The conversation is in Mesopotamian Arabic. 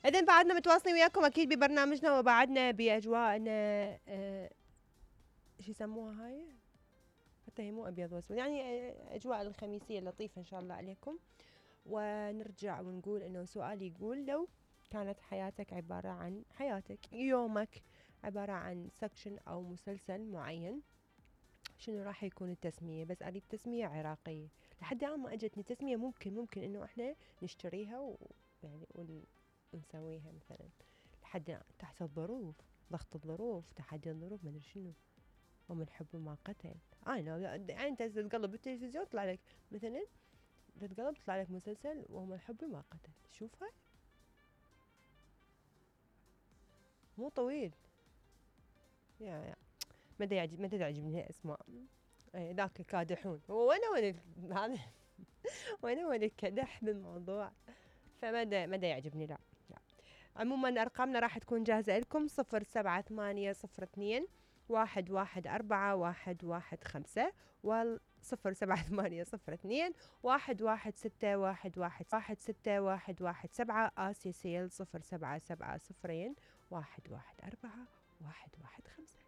إذن بعدنا متواصلين وياكم أكيد ببرنامجنا وبعدنا بأجواءنا. شو يسموها هاي؟ حتى هي مو أبيض وأسود، يعني أجواء الخميسية اللطيفة إن شاء الله عليكم. ونرجع ونقول إنه سؤال يقول لو كانت حياتك عبارة عن يومك عبارة عن سكشن أو مسلسل معين، شنو راح يكون التسمية؟ بس أريد تسمية عراقية. لحد الآن ما أجتني تسمية. ممكن إنه إحنا نشتريها ويعني ونسويها مثلا. لحد الآن تحت الظروف، ضغط الظروف، تحدي الظروف، ما أدري شنو. ومن حب ما قتل. يعني أنت تقلب بالتلفزيون يطلع لك مثلا، تتقلب تطلع لك مسلسل ومن الحب ما قتل. شوفها مو طويل. يا ما تعجبني الاسماء. ذاك الكادحون. وين هذا وين الكدح بالموضوع. فما يعجبني. لا. عموما ارقامنا راح تكون جاهزه لكم. 07802 114 07802 116 آسيا سيل 077 0114 115.